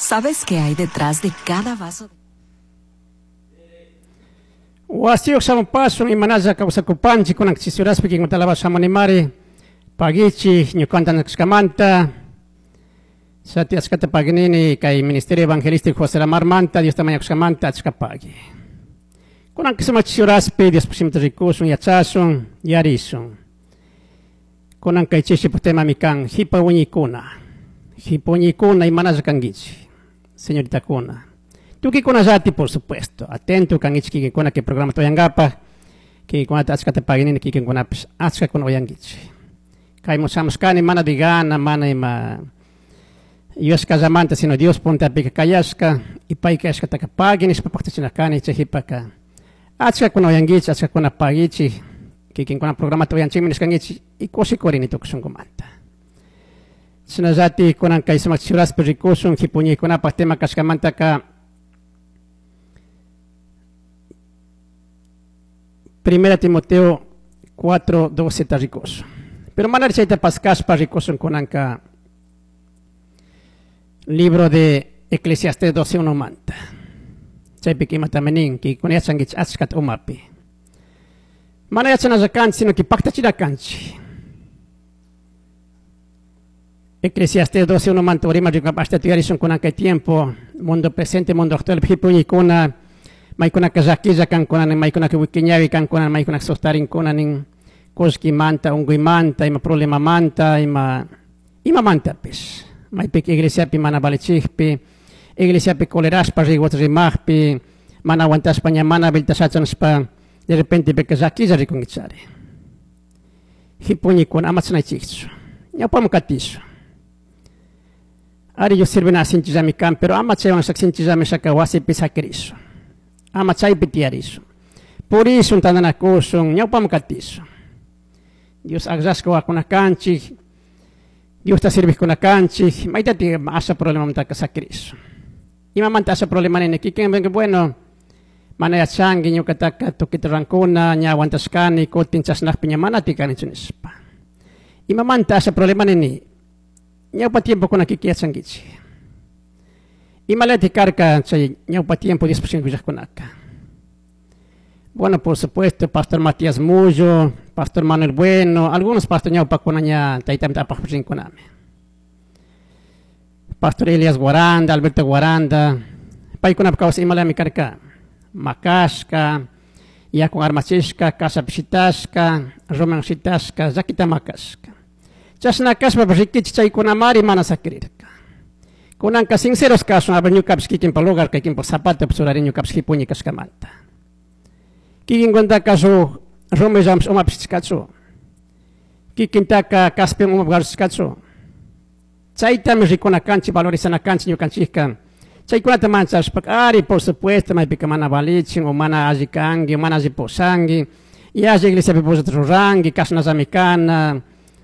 ¿Sabes qué hay detrás de cada vaso? Wasiyuq shamupasun imanalla kawsakupanchik kunan chisuraspi kikinkunata shamunimari pagichik ñuqanta nishkamanta Shati achkata paginini kay Ministerio Evangelístico José Lamarmanta Diosta mañakushkamanta achka pagui. Kunan sumaq chisuraspi Dios pusimta rikusun yachasun yarisun. Kunan kay chishipuk temami kan hipa wiñaykuna. Hipa wiñaykuna imanalla kankichik señoritakuna. Tukikunallati por supuesto atento kankichik kikinkuna kay programata uyankapaj kikinkunata achkata paginini kikinkunapish achkakuna uyankichik. Kaymun shamushkani mana de gana mana ima yuyashkallamanta sino Dios puntapika kayashka y pay kayashkataka pagui nishpa paktachina kani chay jipaka achkakuna uyankichik achkakuna pagichik kikinkuna programata uyanchikmi nishkankichik y kushikurini tukuy shunkumanta. Shinallatik kunan kay sumak churaspi rikushun jipuñaykunapak tema kashkamantaka Primera Timoteo 4:12 ta rikushun. Pero manari chayta paskashpa rikushun kunanka libro de Eclesiastés 12:1 manta. Chaypika imatami nin, kikinkuna yachankichik achkata umapi. Mana yachanalla kanchik, sino que paktachina kanchik. Eclesiastés 12:1 manta urima rikunapa ashtata yuyarishun kunan kay tiempo, mundo presente, mundo actual, jipuñaykuna, maykunaka llakilla kankuna nin, maykunaka wikiñawi kankuna, maykunaka sustarinkuna nin, kullkimanta, unkuymanta, ima problemamanta, ima imamantapish. Maypika iglesiapi mana valichikpi, iglesiapi colerashpa riguata rimajpi, mana aguantashpa ña mana habilitashacha nishpa, de repente pika llakilla rikunkichari. Jipuñaykuna ama chashnaychikchu, ñawpaman katishun. Ari Dios sirvina sinchillami kan, pero ama chaywan shak sinchillami shaka wasipi sakirishun. Ama chaypi tiyarishun. Purishun, tantanakushun, ñawpaman katishun. Dios akllashka wawakuna kanchik, Diosta sirvijkuna kanchik, maytati asha problemamantaka sakirishun. Imamanta asha problema nini, kikin bueno, mana yachanki ñukataka tukita rurankuna, ña aguantashkani, kutin chashnakpi ña mana tikanichu nishpa. Imamanta asha problema nini, ñawpa tiempokuna kikin yachankichik. Imalati karka chay ñawpa tiempo Dios pushkankunaka. Bueno, por supuesto, Pastor Matías Mullo, Pastor Manuel Bueno, algunos pastor ñawpakuna ña taytamita apaj pushinkunami. Pastor Elias Guaranda, Alberto Guaranda, paykunapa kawsay imalami karka. Makashka, yakun armachishka, kashapi shitashka, rumiwan shitashka, llakita makashka. Chashna kashpa rikichik chaykunamari mana sakirirka. Kunanka sinceros kashun, a ver ñukapish kikinpa lugar, kikinpa zapato churari ñukapish jipuñi kashkamanta. Kikinkuntaka shuk rumillapish umapish chishkachu. Kikintaka kaspiwan umapi garchishkachu. Chaytami rikuna kanchik, valorizana kanchik ñukanchikka. Chaykunata manchashpa, ari por supuesto, maypika mana valichin, o mana alli kanki, o mana alli pushanki, y alli iglesiapi pushata ruranki, kashnallami kana,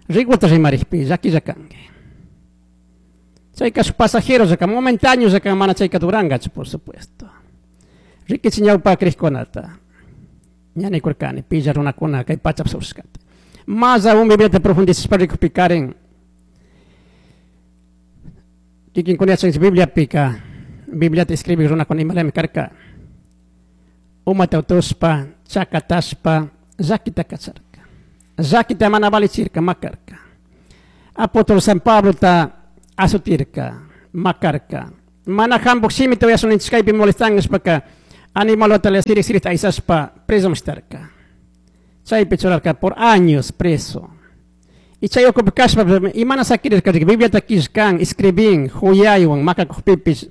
rikuta rimarikpi, llakilla kanki. Chayka shuk pasajero llaka, momentáneo llaka, mana chayka durangachu, por supuesto. Rikichi ñawpa krikkunata. Ña nikurkani, pilla runakuna kay pachapi surshkata. Más aún Bibliata profundizashpa rikukpikarin. Kikinkuna yachanchik Bibliapika, Bibliata escribik runakuna imalami karka. Umata utushpa, chakatashpa, llakita kacharka. Llakita mana valichirka, makarka. Apóstol San Pablota azutirka, makarka. Mana hambuk shimita uyashun kaypi molestan nishpaka, animalota le sirik sirikta aysashpa preso mishtarka. Chaypi churarka por años preso. Y chay ukupi kashpa, imana sakirirka, Bibliata killkan, escribin, huyaywan, makakujpipish,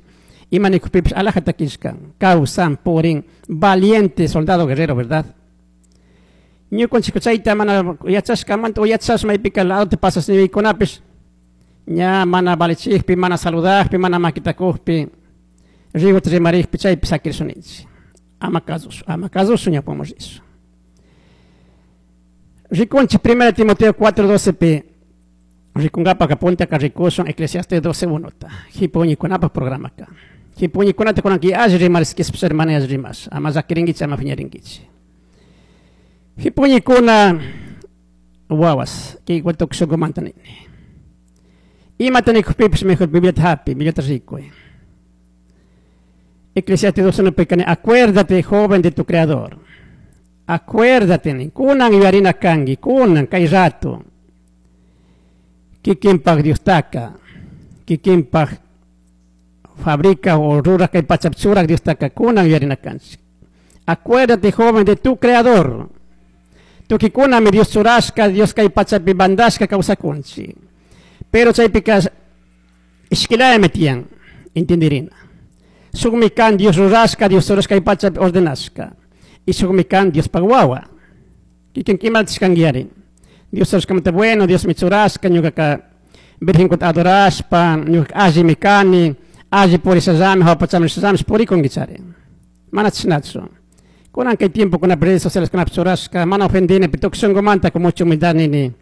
ima nikujpipish, alajata killkan, kawsan, purin, valiente soldado guerrero, ¿verdad? Ñukanchik chayta mana yachashkamanta o yachash maypika ladote pasas niykunapish, ña mana valichikpi, mana saludajpi, mana makitakujpi, riguta rimarikpi, chaypi sakirishunchik. Ama kasushu, ama kasushu ñawpaman rishun. Rikunchik 1 Timoteo 4:12 pi, rikunkapaka puntaka rikushun Eclesiastes 12:1 ta, jipuñikunapaj programaka. Jipuñikunata kunanki alli rimarishkishpa hermana alli rimash, ama llakirinkichik, ama piñarinkichik. Jipuñikuna wawas, kay tukuy shunkumanta nini. Imata nikujpipish mejor Bibliata hapi, Bibliata rikuy. Eclesiastes 2.1 acuérdate, joven, de tu creador. Acuérdate, kunan yuyarina kanki, kunan kay rato. Kikinpak Diostaka, kikinpak fabrica o ruraj kay pachapi churaj Diostaka, kunan yuyarina kanchik. Acuérdate, joven, de tu creador. Tukikunami Dios churashka, Dios kay pachapi mandashka kawsakunchik. Pero chaypika ishkilayami tiyan, entendirina. Shukmi kan Dios rurashka, Dios churashka kay pachapi ordenashka. Y shukmi kan Diospaj wawa. Kikin kimaltishkanki Dios churashkamanta bueno, Dios mi churashka, ñukaka virgenkunata adorashpa, ñukaka allimi kani, alli purishallami, hawa pachaman rishallami purikunkichari. Mana chashnachu. Kunan kay tiempo kuna redes sociales kunapi churashka, mana ofendini, pero tukuy shunkumanta con mucha humildad nini.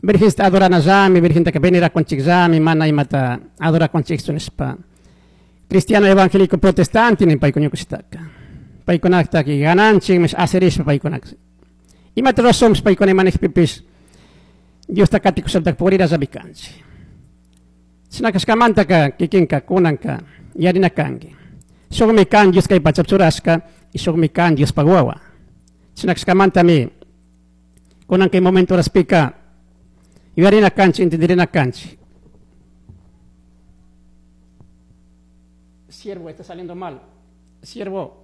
Virgensta adoranallami, virgentaka venerakunchikllami, mana imata adorakunchikchu nishpa. Cristiano evangélico protestante nin paykuna ñukushitaka. Paykunakta gananchik, mish aserishpa paykunaka. Imata razonpish paykuna imanijpipish Diosta katikushaptaka purirallami kanchik. Chashna kashkamantaka kikinka kunanka yarina kanki. Shukmi kan Dios kay pachapi churashka y shukmi kan Diospaj wawa. Chashna kashkamantami kunan kay momento horaspika yuyarina kanchik, entendirina kanchik. Siervo, está saliendo mal. Siervo.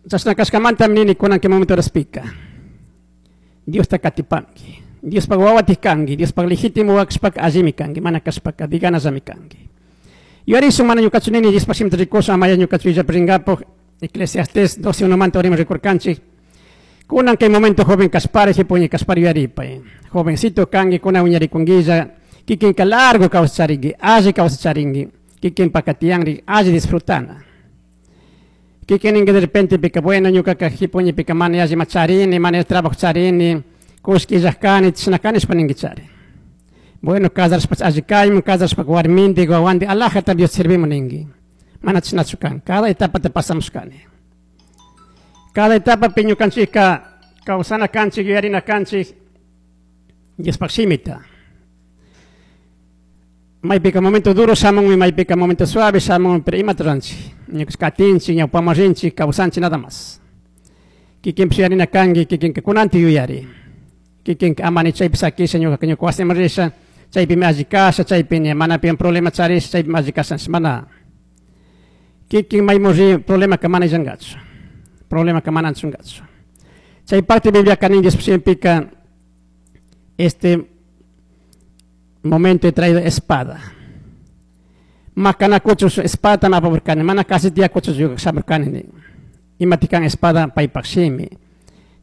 Chashna kashkamantami nini kunan kay momento horaspika. Diosta katipanki. Diospaj wawatik kanki, Diospaj legítimo kashpaka allimi kanki, mana kashpaka diganallami kanki. Yuyarishun mana ñukachu nini Diospaj shimita rikushun, amaya ñukachu illapi rinkapuj, Eclesiastes 12.1manta urima rikurkanchik. Kunan kay momento joven kashpari, jipuñi kashpari yuyaripay. Jovencito kanki, kunan wiñarikunguilla, kikinka largo kawsacharinki, alli kawsacharinki, kikinpaka tiyanri, alli disfrutana. Kikin ninki de repente pika, bueno, ñukaka jipuñi pika mana alli ma charini, mana trabajo charini, kushki illaj kani, chashna kani nishpa ninkichari. Bueno, casarashpa alli kaymun, casarashpa warminti, wawanti, alajata Dios servimos ninki. Mana chashnachu kan, cada etapa te pasamos kani. Cada etapa ñukanchikka kawsana kanchik, yuyarina kanchik, Diospaj shimita. Maypika momento duro shamunmi, maypika momento suave shamunmi, pero imata ruranchik. Ñukanchik katinchik, ñawpaman rinchik, kawsanchik nada más. Kikinpish yuyarina kanki, kikinka kunanti yuyari. Kikinka amani chaypi sakisha, ñukaka ñuka wasiman risha, chaypimi alli kasha, chaypi mana pian problema charisha, chaypimi alli kasha, mana. Kikin maymun ri problemaka mana illankachu. Problemaka mana anchunkachu. Chay parte Biblia nin Dios shimipika, este momento he traído espada. Makanakuchu espada apamurkani, mana kasi tiyakuchu shamurkani nin. Imatikan espada paypak shimi.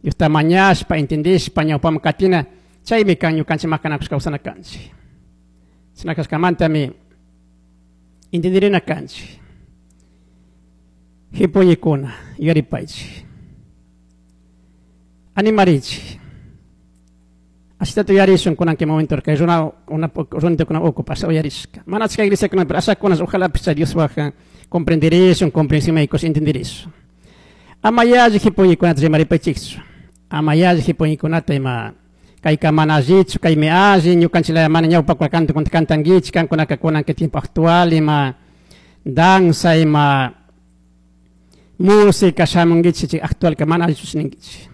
Diosta mañashpa, entendishpa, ñawpaman katina, chaymi kan ñukanchik makanakush kawsana kanchik. Chashna kashkamantami entendirina kanchik. Jipuñikuna, yuyaripaychik. Animarichik. Ashitata uyarishun kunan kay momento kay runa una runakuna ocupas uyarishka. Mana achka iglesiakuna, pero ashakunas ojalá picha Diospaj comprenderishun, comprensión médicos entenderishun. Ama yalli jipuñikunata rimaripaychikchu. Ama yalli jipuñikunata ima kayka mana allichu, kaymi alli, ñukanchik mana ñawpakuna canto cantankichik, kankunaka kunan kay tiempo actual ima danza ima música shamunkichik actual ka mana allichu ninkichik.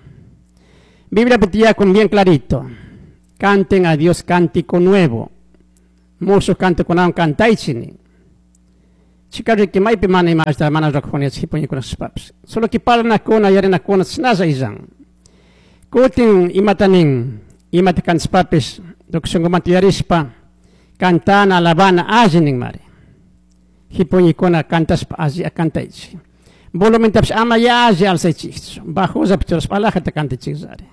Biblia tiyakun bien clarito. Canten a Dios cántico nuevo. Musuj cantokunawan cantaychik nin. Chikariki maypi mana ima allita mana rurakujuniachik jipuñikunashpapish. Solo que parlanakuna, yarinakuna chashnalla illan. Kutin imata nin, imata cantashpapish, tukuy shunkumanta yuyarishpa, cantana, alabana, alli ninmari. Jipuñikuna cantashpa alli cantaychik. Volumentapish ama yalli alzaychikchu, bajollapi churashpa alajata cantaychikllari.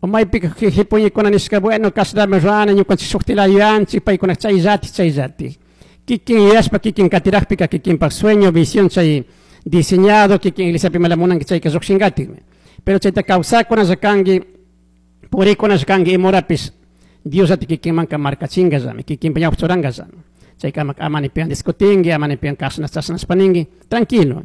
O maypika jipuñikuna nishka, bueno, kashnami rurani, ñukanchik shuktila yuyanchik, paykuna chayllatik, chayllatik. Kikin yuyashpa, kikin katirajpika, kikinpak sueño, visión chay diseñado, kikin iglesiapi imala munanki chayka llukshinkatikmi. Pero chayta kawsakuna kanki, purikuna kanki imurapish, Diosllata kikinmanka markachinkallami, kikinpa ñawpa churankallami. Chayka amani pian discutinki, amani pian kashna chashnashpa ninki, tranquilo.